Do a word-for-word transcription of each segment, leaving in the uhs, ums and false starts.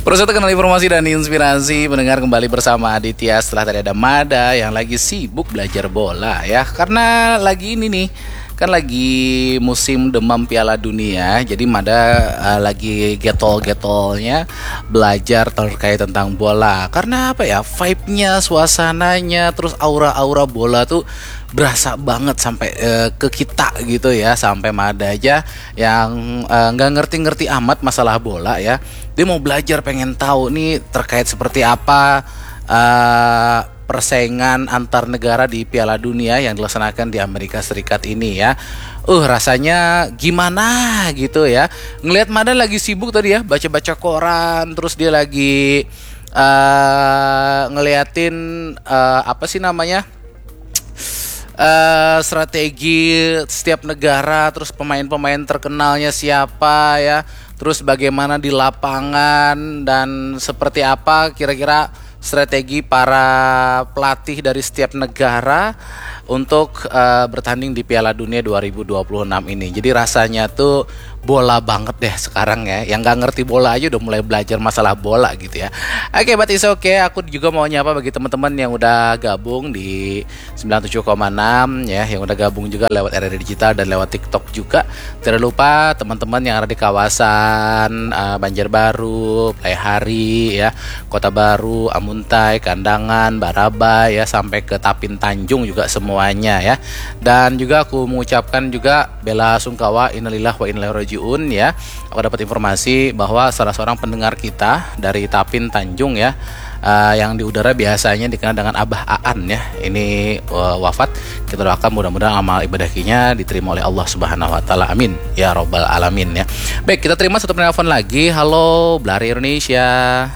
Terus itu kenal informasi dan inspirasi, mendengar kembali bersama Aditya setelah tadi ada Mada yang lagi sibuk belajar bola ya. Karena lagi ini nih, kan lagi musim demam Piala Dunia, jadi Mada uh, lagi getol-getolnya belajar terkait tentang bola. Karena apa ya, vibe-nya, suasananya, terus aura-aura bola tuh berasa banget sampai uh, ke kita gitu ya, sampai Mada aja yang uh, nggak ngerti-ngerti amat masalah bola ya, dia mau belajar, pengen tahu nih terkait seperti apa uh, persaingan antar negara di Piala Dunia yang dilaksanakan di Amerika Serikat ini ya. Uh, rasanya gimana gitu ya. Ngelihat Mada lagi sibuk tadi ya, baca-baca koran, terus dia lagi uh, ngeliatin uh, apa sih namanya? Uh, strategi setiap negara, terus pemain-pemain terkenalnya siapa ya, terus bagaimana di lapangan dan seperti apa kira-kira strategi para pelatih dari setiap negara untuk uh, bertanding di Piala Dunia dua ribu dua puluh enam ini. Jadi rasanya tuh bola banget deh sekarang ya. Yang nggak ngerti bola aja udah mulai belajar masalah bola gitu ya. Oke, okay, but it's okay. Aku juga mau nyapa bagi teman-teman yang udah gabung di sembilan tujuh koma enam ya, yang udah gabung juga lewat R R I Digital dan lewat TikTok juga. Tidak lupa teman-teman yang ada di kawasan uh, Banjarbaru, Playhari ya, Kota Baru, Amuntai, Kandangan, Barabai ya, sampai ke Tapin Tanjung juga semuanya ya. Dan juga aku mengucapkan juga bela sungkawa, innalillah wa inna ilaihi rajiun ya. Aku dapat informasi bahwa salah seorang pendengar kita dari Tapin Tanjung ya, uh, yang di udara biasanya dikenal dengan Abah Aan ya, ini uh, wafat. Kita doakan mudah-mudahan amal ibadah kinya diterima oleh Allah Subhanahu wa taala. Amin ya robbal alamin ya. Baik, kita terima satu penelpon lagi. Halo, Blari Indonesia.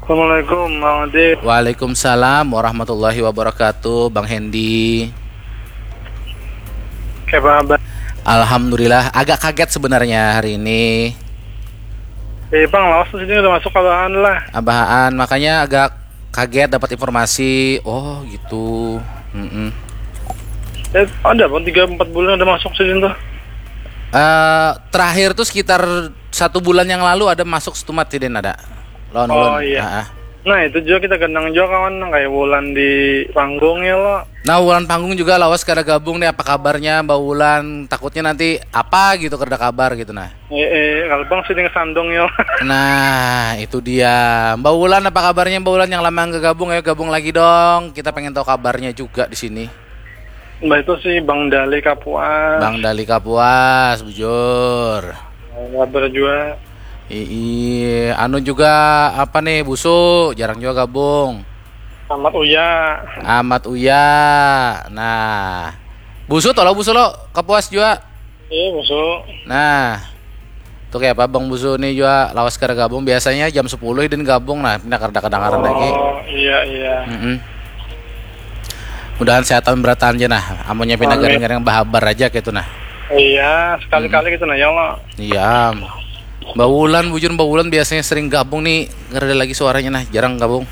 Assalamualaikum, Bang Ade. Waalaikumsalam warahmatullahi wabarakatuh, Bang Hendy. Kayak apa? Alhamdulillah, agak kaget sebenarnya hari ini. Eh, Bang, lawas sini udah masuk Abahan lah. Abahan, makanya agak kaget dapat informasi. Oh, gitu. Mm-mm. Eh, ada Bang, tiga empat bulan ada masuk sini tuh. Uh, terakhir tuh sekitar satu bulan yang lalu ada masuk setumat sih, Den, ada. Lawan oh, iya. Nah, itu juga kita kenang juga kawan, kayak Wulan di panggung ya lo. Nah, Wulan panggung juga lawas kada gabung nih, apa kabarnya Mbak Wulan? Takutnya nanti apa gitu, kada kabar gitu nah. Eh, eh kalau Bang sini sandung ya. Nah, itu dia. Mbak Wulan, apa kabarnya Mbak Wulan yang lama nggak gabung? Ayo gabung lagi dong. Kita pengen tahu kabarnya juga di sini. Mbak itu sih Bang Dali Kapuas. Bang Dali Kapuas, bujur. Kabar juga. Ii, anu juga apa nih, Busu, jarang juga gabung. Amat Uya. Amat Uya. Nah. Busu tolong Busu lo, Kapuas juga. Iya, Busu. Nah. Tuh kayak apa Bang Busu nih juga lawas kada gabung, biasanya jam sepuluh dan gabung, nah pindah kada kedengaran lagi. Oh, iya iya. Mm-mm. Mudahan sehatan berataan aja nah, amunnya pindah garing-garing bahabar aja gitu nah. Iya, sekali-kali gitu nah ya Allah. Iya. Mbak Wulan, bujur Mbak Wulan biasanya sering gabung nih, ngereda lagi suaranya nah, jarang gabung.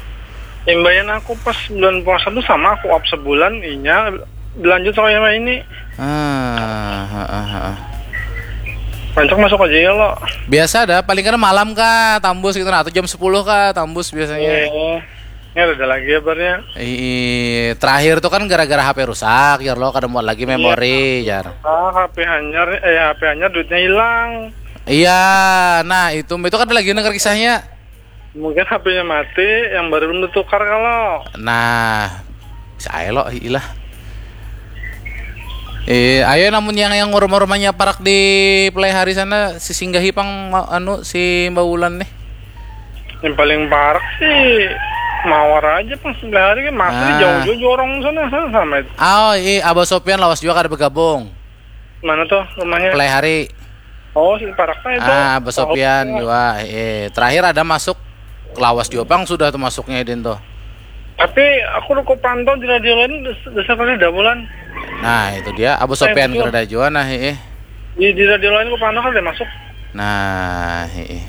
Imbayan aku pas bulan puasa tuh sama aku up sebulan, inya berlanjut sama yang ini. Ah, ha, ha, ha. Rancak masuk aja ya lo. Biasa ada, paling kada malam kah, tambus gitu nah, atau jam sepuluh kah, tambus biasanya. Iya. Ini ada lagi kabarnya. Ih, terakhir tuh kan gara-gara H P rusak, jar lo kada muat lagi memori, jar. Ah, H P hanyar, eh H P hanyar duitnya hilang. Iya, nah itu itu kan lagi denger kisahnya. Mungkin H P-nya mati, yang baru belum ditukar kalau. Nah, saya lo ilah. Eh, ayo namun yang yang rumah-rumahnya parak di Play Hari sana, si singgahi pang ma- anu si Mbak Wulan nih. Yang paling parak sih Mawar aja pas sebelah hari kan masih Ah. Jauh-jauh jorong sana, sana sama itu. Oh, iya, Abah Sopian lawas juga kada bergabung. Mana tuh rumahnya? Play Hari. Oh, si paraknya itu. Ah, Abah Tahu. Sopian juga. Eh, terakhir ada masuk lawas juga pang sudah tuh masuknya Idin tuh. Tapi aku udah pantau di radio lain des- dasar kali dah bulan. Nah, itu dia Abah Sopian kada juga nah, eh. Di, di radio lain aku pantau kan udah masuk. Nah, eh.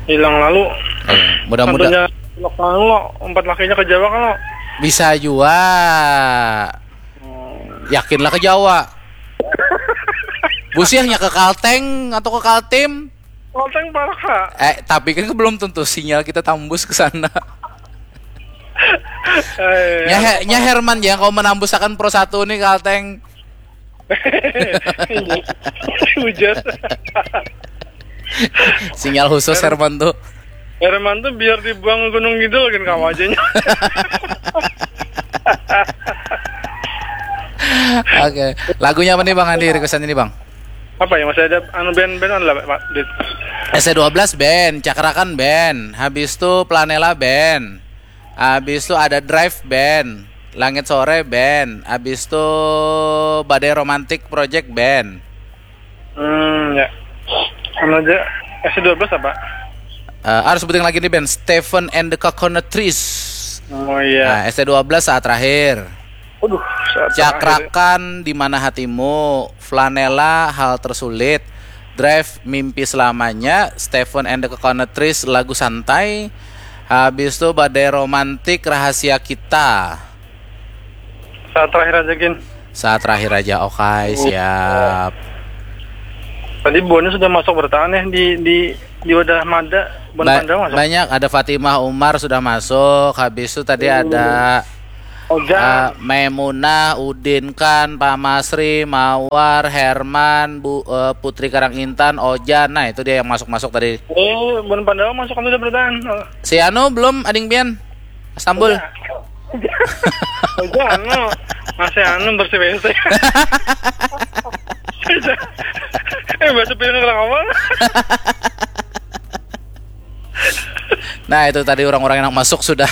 Hilang lalu. Eh, mudah-mudahan Tentunya lo empat lakinya ke Jawa kan lo. Bisa juga. Yakinlah ke Jawa. Busiahnya ke Kalteng atau ke Kaltim? Kalteng parak ha. Eh, tapi kan belum tentu sinyal kita tambus ke sana. Eh, nya, he, nya Herman yang kau menambusakan Pro satu nih Kalteng. Hujan. Sinyal khusus Herman tuh. Herman tuh biar dibuang Gunung Kidul kan kamu aja. Oke, lagunya apa nih Bang Andi requestan ini Bang? Apa ya, masih ada anu band-band lah Pak Dit. S C dua belas band, Cakrakan band, habis itu Planela band, habis itu ada Drive band, Langit Sore band, habis itu Badai Romantic Project band. Hmm, ya. Anu aja, S C dua belas apa? Uh, harus sebutin lagi nih band Stephen and the Coconut Trees. Oh iya. Nah, S C dua belas saat terakhir. Waduh, saat Cakrakan di mana hatimu, Flanela hal tersulit, Drive mimpi selamanya, Stephen and the Coconut Trees lagu santai, habis itu Badai Romantik rahasia kita. Saat terakhir aja gin. Saat terakhir aja, oke okay, siap. Tadi buahnya sudah masuk bertahan ya di di di wadah mada. Ba masuk. Banyak, ada Fatimah Umar sudah masuk, habis itu tadi hmm. ada Ojan. Uh, Maimunah, Udin Khan, Pak Masri, Mawar, Herman, Bu uh, Putri Karangintan, Ojan. Nah, itu dia yang masuk-masuk tadi. Eh, Bon Pandawa masuk kan sudah bertahan. Oh. Si Anu belum ading pian? Istanbul. Ojan anu masih anu bersih bersih. Eh, baca piring orang awal. Nah, itu tadi orang-orang yang masuk sudah.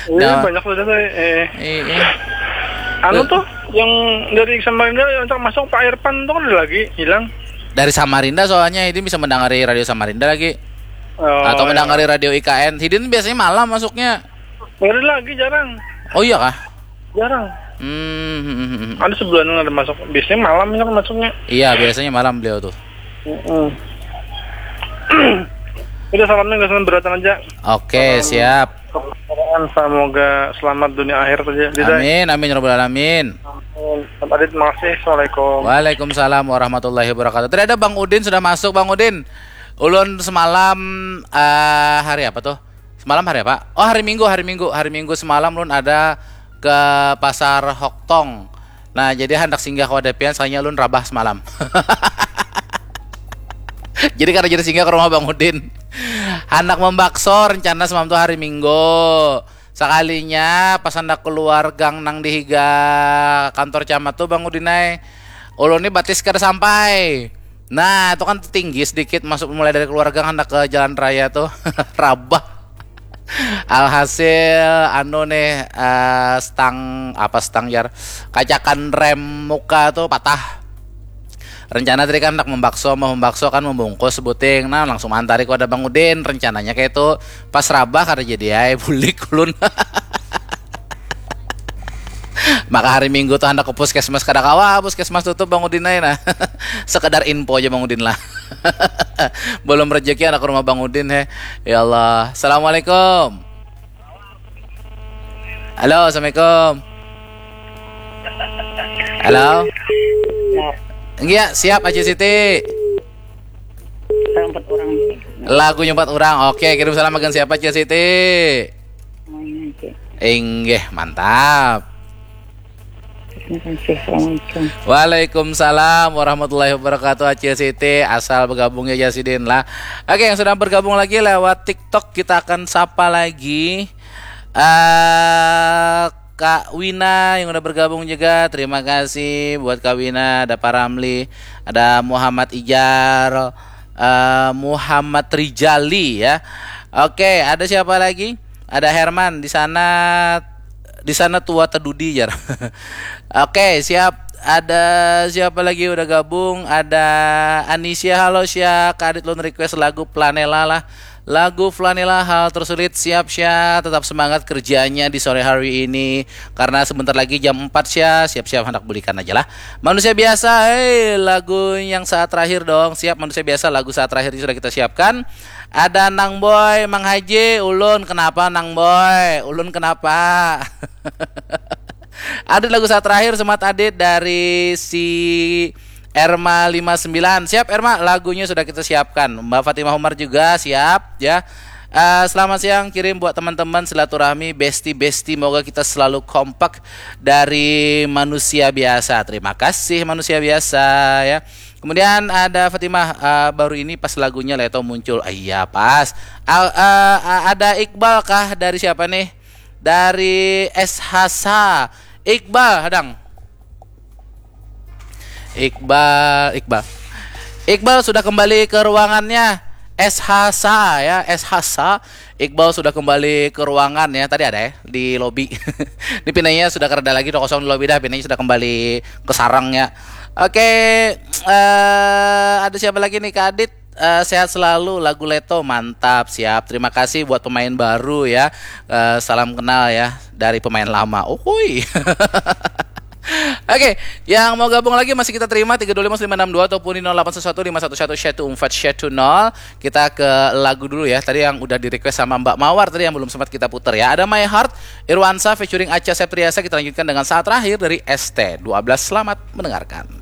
Iya, nah, banyak sudah saya. Eh. Iya. Anu tuh yang dari Samarinda yang masuk Pak Irfan tuh kan ada lagi hilang. Dari Samarinda soalnya ini bisa mendengari radio Samarinda lagi. Oh, atau iya. Mendengari radio I K N. Hidin biasanya malam masuknya. Ada lagi jarang. Oh iya kah? Jarang. Hmm. Ada sebulan ada masuk. Biasanya malam kan masuknya. Iya, biasanya malam beliau tuh. Mm -mm. Udah salamnya nggak usah beratan aja. Oke, okay, siap. Semoga selamat dunia akhir saja. Amin, amin ya rabbal alamin. Amin. Adit, makasih. Assalamualaikum. Waalaikumsalam warahmatullahi wabarakatuh. Tidak ada Bang Udin sudah masuk, Bang Udin. Ulun semalam uh, hari apa tuh? Semalam hari apa? Oh, hari Minggu, hari Minggu. Hari Minggu semalam lun ada ke pasar Hoktong. Nah, jadi handak singgah ke wadah pian, soalnya lun rabah semalam. Jadi kada jadi singgah ke rumah Bang Udin. Handak membakso rencana semalam tuh hari Minggu. Sekalinya pas handak keluar gang nang di higa kantor camat tuh Bang Udin ai. Ulun ni batis kada sampai. Nah, itu kan tinggi sedikit masuk mulai dari keluarga hendak ke jalan raya tuh. Rabah. Alhasil anu nih uh, stang apa stang jar kacakan rem muka tuh patah. Rencana tadi kan hendak membakso, mau membakso kan membungkus sebuting. Nah, langsung antari ku ada Bang Udin. Rencananya kayak itu pas rabah kada jadi ai bulik ulun. Maka hari Minggu tuh hendak ke puskesmas kada kawa, puskesmas tutup Bang Udin aja nah. Sekedar info aja Bang Udin lah. Belum rezeki anak rumah Bang Udin he. Ya Allah. Assalamualaikum. Halo, assalamualaikum. Halo. Ya. Iya, siap Aji Siti. Empat orang. Lagunya empat orang. Oke, kirim salam bagian siapa Aji Siti? Inggih, mantap. Waalaikumsalam warahmatullahi wabarakatuh Acil Siti. Asal bergabung ya Jasidin lah. Oke, yang sudah bergabung lagi lewat TikTok kita akan sapa lagi. Uh, Kak Wina yang udah bergabung juga. Terima kasih buat Kak Wina, ada Pak Ramli, ada Muhammad Ijar, uh, Muhammad Rijali ya. Oke, ada siapa lagi? Ada Herman di sana di sana tua tedudi jar. Oke, siap. Ada siapa lagi udah gabung? Ada Anisia, halo Sya, Kadit Lun request lagu Planela lah. Lagu Flanela hal tersulit. Siap Sya, tetap semangat kerjanya di sore hari ini. Karena sebentar lagi jam empat Sya, siap-siap hendak bulikan aja lah. Manusia biasa, hei, lagu yang saat terakhir dong. Siap manusia biasa, lagu saat terakhir ini sudah kita siapkan. Ada Nang Boy, Mang Haji, ulun kenapa Nang Boy? Ulun kenapa? Ada lagu saat terakhir semat Adit dari si Erma lima sembilan. Siap Erma, lagunya sudah kita siapkan. Mbak Fatimah Umar juga siap ya. Uh, selamat siang, kirim buat teman-teman silaturahmi, besti-besti, moga kita selalu kompak dari manusia biasa. Terima kasih manusia biasa ya. Kemudian ada Fatimah, uh, baru ini pas lagunya Leto muncul. Ah, iya pas. Uh, uh, ada Iqbal kah, dari siapa nih? Dari S H S A. Iqbal, hadang. Iqbal, Iqbal. Iqbal sudah kembali ke ruangannya. S H S A ya, S H S A. Iqbal sudah kembali ke ruangan ya. Tadi ada ya di lobi. Ini pinanya sudah kerada lagi, udah kosong di lobi dah. Pinanya sudah kembali ke sarangnya. Oke, uh, ada siapa lagi nih, Kak Adit? Uh, sehat selalu, lagu Leto mantap. Siap, terima kasih buat pemain baru ya. Uh, salam kenal ya dari pemain lama. Uhuy. Oke, yang mau gabung lagi masih kita terima, tiga dua lima lima enam dua ataupun di nol delapan satu satu lima satu satu satu empat satu nol. Kita ke lagu dulu ya. Tadi yang udah di-request sama Mbak Mawar tadi yang belum sempat kita putar ya. Ada My Heart, Irwansa featuring Acha Septriasa. Kita lanjutkan dengan Saat Terakhir dari S T dua belas. Selamat mendengarkan.